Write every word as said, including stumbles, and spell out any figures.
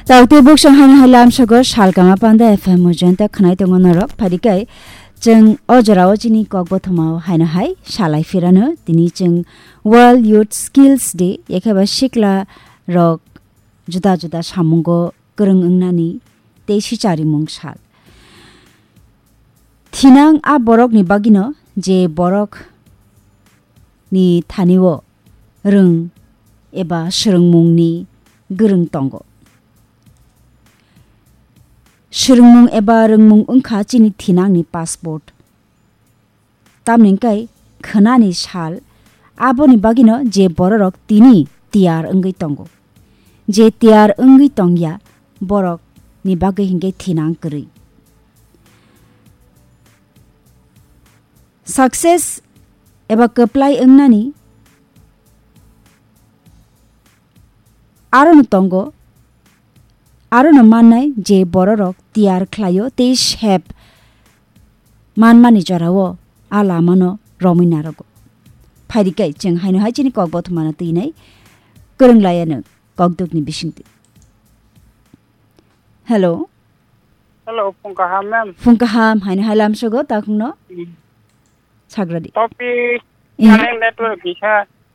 Tautwi buksong haino hai lamsogo salkama panda F M o jointa khwnai tongo norok. Phadikai chwng o jorao chini kok bothomao haino hai salai phirano tini chwng World Youth Skills Day, yakheba sikla rok juda juda samungo kwrwng wngnani tei sicharimung sal. Thinang a borokni bagwino je borok ni thanio rwng eba swrwngmungni gwrwng tongo. Swrwngmung eba rwngmung wngkha chini thinangni passport. Tamni hwnkhe khwnani sal, aboni bagwino je bororok tini tiyar wngwi tongo. Je tiyar wngwi tongya, borokni bagwi hwnkhe thinang kwrwi. Success eba kwplai wngnani arono tongo, arono mannai je bororok tiyar khlaio tei sep manmani jorao a lamano romwi narogo. Phaidi kai chwng haino hai chini kok bothomano twinai kwrwng laiya nwng kokdukni bisingtwi. Hello. Hello, phung kaham, ma'am. Phung kaham, haino hai lamsogo takhungno. Hmm. Sagradi. Topic, Eh. Connect network kisa.